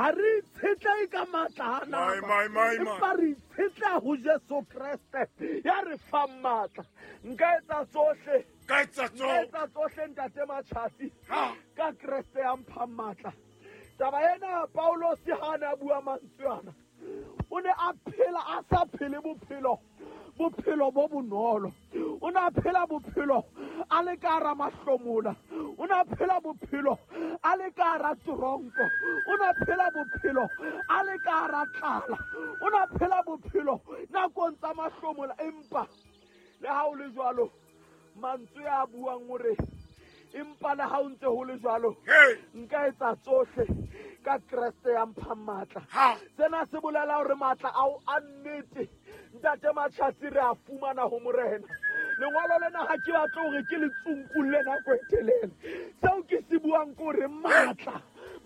Ga re itshetlehe ka maatla a nama, empa re itshetleha ho Jesu Kreste ya re fang maatla. Nka etsa tsohle, Ka etsa nka tsohle. etsa tsohle, ntate Matjhatsi, Ha. ka Kreste ya mphang matla. Taba ena Paulosi ha a ne a bua mantswe ana, o ne a phela a sa phele bophelo, bophelo bo bonolo. O ne a phela bophelo a le ka hara mahlomola, o ne a phela bophelo a le ka hara toronko, o ne a phela bophelo a le ka hara tlala, o ne a phela bophelo nakong tsa mahlomola. Empa le ha o le jwalo, mantswe a buang hore empa le ha o ntse ho le jwalo, Hey. nka etsa tsohle ka Kreste ya mphang matla. Ha. Sena se bolela hore matla ao a nnete, ntate Matjhatsi, re a fumana ho Morena. Lengolo lena ha ke batle hore ke le tsunkulle nako e telele. Seo ke se buang ke hore matla,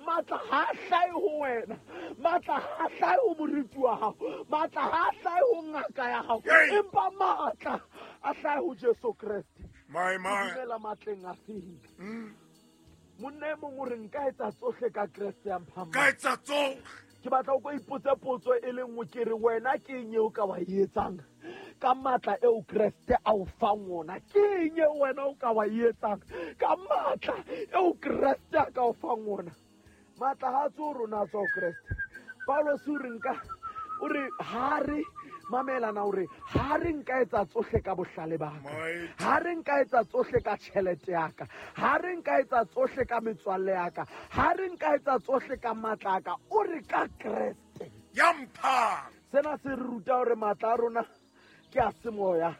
matla ha a hlahe ho wena, matla ha a hlahe ho moriti wa hao, matla ha a hlahe ho ngaka ya hao, Hey. empa matla a hlahe ho Jesu Kreste. My, my. Dumela matleng a feng? Monna e mong o re nka etsa tsohle ka Kreste ya mphang Ka matla. etsa tsohle. Ke batla o ko ipotse potso e le nngwe, ke re wena ke eng eo ka wa e etsang ka matla eo Kreste a o fang ona? Ke eng eo wena o ka wa e etsang ka matla eo Kreste a ka o fang ona? Matla ha a tswe ho rona, a tswa ho Kreste. Paulus o re nka, o re ha re mamelana, o re ha re nka etsa tsohle ka bohlale ba ka, Mighty. ha re nka etsa tsohle ka tjhelete ya ka, ha re nka etsa tsohle ka metswalle ya ka, ha re nka etsa tsohle ka matla a ka, o re ka Kreste. Ya mphang. Sena se re ruta hore matla a rona ke a semoya,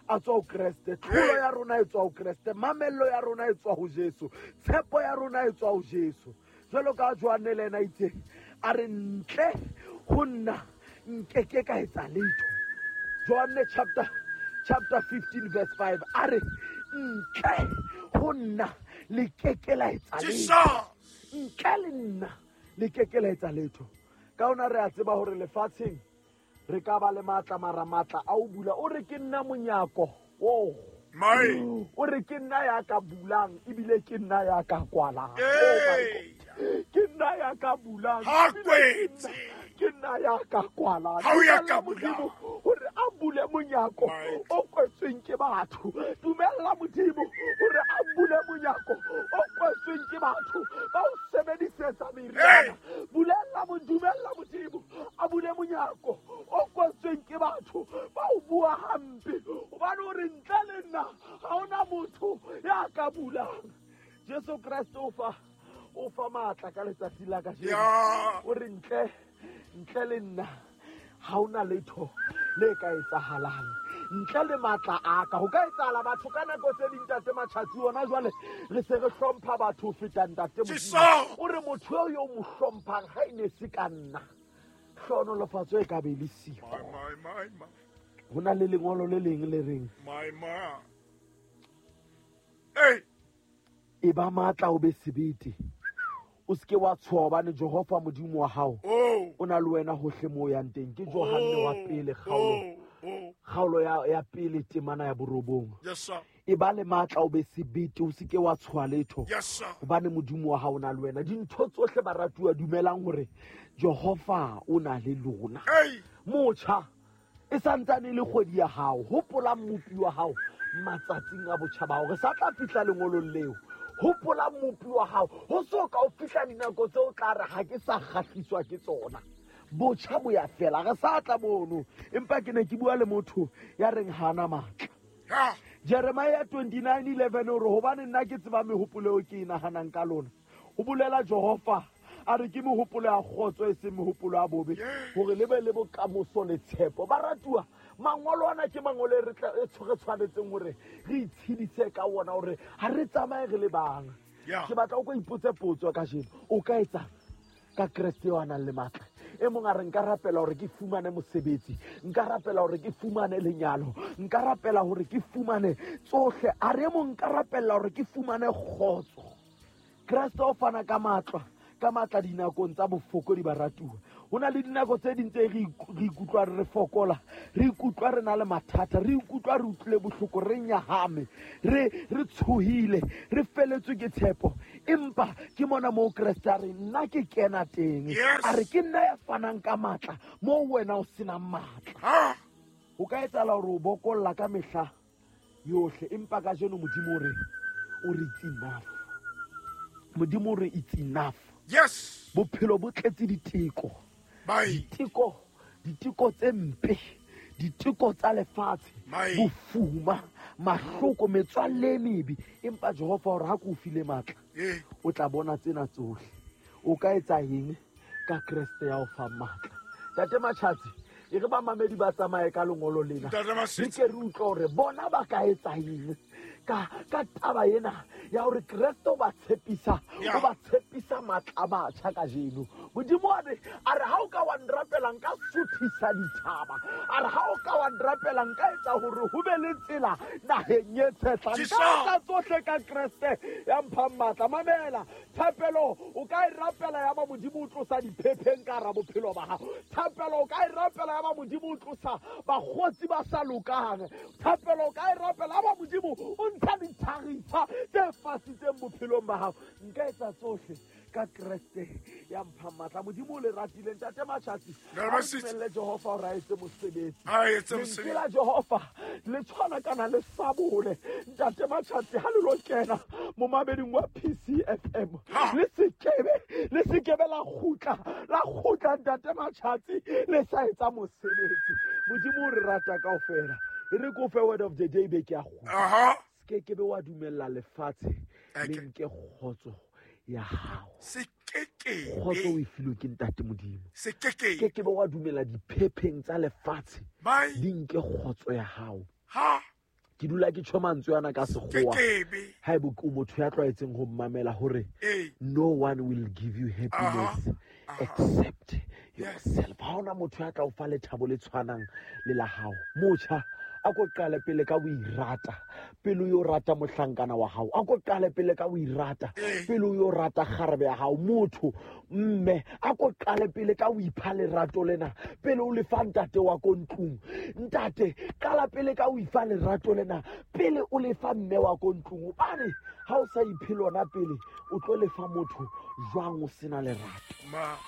a tswa ho Kreste. Tlholo ya rona e tswa ho Kreste, mamello ya rona e tswa ho Jesu, tshepo ya rona e tswa ho Jesu. Jwalo ka Johanne le ena itse, a re ntle ho nna nkeke ka etsa letho. Johanne chapter 15 verse 5, a re ntle ho nna le keke la etsa letho. Jesus. Ntle le nna le keke la etsa letho. Ka hona re a tseba hore lefatsheng re ka ba le matla, mara matla a o bula. O re ke nna monyako. Oh. My. O re ke nna ya ka bulang ebile ke nna ya ka kwalang. Oh my Hey. God. Ke nna ya ka bulang, Ha ebile kwetse. ke nna ya ka kwalang. Ha o ya Dumella ka Modimo bulang. hore a bule monyako My. o kwetsweng ke batho. Dumella Modimo hore a bule monyako o kwetsweng ke batho ba o sebedisetsa meriana. Hey. Bulella dumella Modimo a bule monyako o kwetsweng ke batho ba o bua hampe, hobane o re ntle le nna ha hona motho ya ka bulang. Jesu Kreste o fa matla ka letsatsi la kajeno. Ya. O re ntle le nna ha hona letho le ka etsahalang ntle le matla a ka. Ho ka etsahala batho ka nako tse ding, ntate Matjhatsi, hona jwale re se re hlompha batho ho feta ntate Modimo. Jesus. O re motho eo yo mo hlomphang ha e ne se ka nna, hlohonolofatso e ka be le siko. My, my, my, my. Ho na le lengolo le leng le reng, My, my. Hey. e ba matla o be sebete, o seke wa tshoha, hobane Jehova Modimo wa hao Oh. o na le wena hohle moo o yang teng. Ke Johanne wa pele, kgaolo, Oh, oh. kgaolo ya pele, temana ya borobong. Yes, sir. E ba le matla o be sebete, o seke wa tshoha letho, Yes, sir. hobane Modimo wa hao o na le wena. Dintho tsohle, baratuwa, dumelang hore Jehova o na le lona. Hey. Motjha, e santsane e le kgwedi ya hao, hopola Mmopi wa hao matsatsing a botjha ba hao. Re sa tla fihla lengolong leo. Hopola Mmopi wa hao, ho so ka o fihla dinako tseo o tla re ha ke sa kgahliswa ke tsona. Botjha bo ya fela, re sa tla mono. Empa ke ne ke bua le motho ya reng ha ana matla. Ha. Jeremiah 29:11 o re, hobane nna ke tseba mehopolo eo ke e nahanang ka lona, ho bolela Jehova, a re ke mehopolo ya kgotso e seng mehopolo ya bobe, hore le be le bokamoso le tshepo. Baratuwa, mangolo ana ke mangolo e re tla, e re tshwanetseng hore re itshedise ka ona, hore ha re tsamaye re le bang. Yeah. Ke batla o ko ipotse potso kajeno, o ka etsang ka Kreste eo a nang le matla? E mong a re nka rapela hore ke fumane mosebetsi, nka rapela hore ke fumane lenyalo, nka rapela hore ke fumane tsohle. A re e mong nka rapela hore ke fumane kgotso. Kreste o fana ka matla, ka matla dinakong tsa bofokodi, baratuwa. Ho na le dinako tse ding tse re ikutlwa re fokola, re ikutlwa re na le mathata, re ikutlwa re utlwile bohloko, re nyahame, re tshohile, re feletswe ke tshepo. Empa ke mona moo Kreste a re nna ke kena teng. A re ke nna ya fanang ka matla moo wena o senang matla. O ka etsahala hore o bokolla ka mehla yohle, empa kajeno Modimo o re it's enough. Modimo o re it's enough. Yes. Bophelo bo tletse diteko. Diteko tse mpe, diteko tsa lefatshe, bofuma, mahloko, metswalle e mebe. Empa Jehova o re ha ke o file matla, o tla bona tsena tsohle. O ka etsa eng ka Kreste ya o fang matla? Tate Matjhatsi, e re bamamedi ba tsamaye ka lengolo lena, re ke re utlwe hore bona ba ka etsa eng ka taba ena ya hore Kreste o ba tshepisa, o ba tshepisa matla a batjha kajeno. Modimo a re ha o ka wa nrapela nka suthisa dithaba, a re ha o ka wa nrapela nka etsa hore ho be le tsela naheng e tshehla. Nka etsa tsohle ka Kreste ya mphang matla. Mamela, thapelo o ka e rapela ya ba Modimo o tlosa diphepheng ka hara bophelo ba hao. Thapelo o ka e rapela ya ba Modimo o tlosa bakgotsi ba sa lokang. Thapelo o ka e rapela ya ba Modimo o ntsha dithagisa tse fasitseng bophelong ba hao. Nka etsa tsohle ka Kreste ya mphang matla. Modimo o le ratile. Ntate Matjhatsi, a dumelle Jehova hore a etse mosebetsi. Lentswe la Jehova le tshwana kana le sabole. Ntate Matjhatsi, ha le lo kena momameding wa PCFM, le sekebe la kgutla Ntate Matjhatsi le sa etsa mosebetsi. Modimo o re rata kaofela. E re ko fe word of the day be ke a kgutla. Se ke be wa dumella lefatshe le nke kgotso ya hao. Kgotso o e filwe ke Ntate Modimo. Se ke be wa dumela diphepheng tsa lefatshe di nke kgotso ya hao. Ke dula ke tjho mantswe ana ka sekgowa. Haeba o motho ya tlwaetseng ho mmamela hore no one will give you happiness except yourself. Ha hona motho ya tla o fa lethabo le tshwanang le la hao. Motjha, a ko qale pele ka ho irata, pele o yo rata mohlankana wa hao. A ko qale pele ka ho irata, pele o yo rata kgarebe ya hao. Motho mme, a ko qale pele ka ho ipha lerato lena, pele o lefa ntate wa ko ntlong. Ntate, qala pele ka ho ifa lerato lena, pele o lefa mme wa ko ntlong. Hobane ha o sa iphe lona pele, o tlo lefa motho jwang o sena lerato?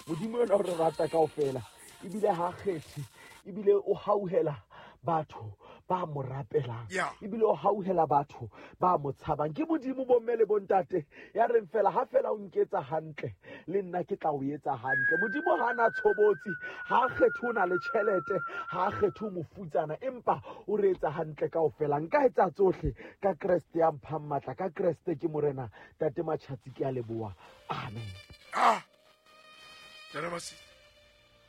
Modimo yena o re rata kaofela, ebile ha kgethe, ebile o hauhela batho ba mo rapelang, ebile o hauhela batho ba mo tshabang. Ke Modimo bomme le bontate ya reng fela ha fela o nketsa hantle, le nna ke tla o etsa hantle. Modimo ha na tshobotsi, ha kgethe o na le tjhelete, ha kgethe o mofutsana, empa o re etsa hantle kaofela. Nka etsa tsohle ka Kreste ya mphang matla. Ka Kreste ke Morena. Tate Matjhatsi, ke a leboha. Amen. Ntate Masitsi.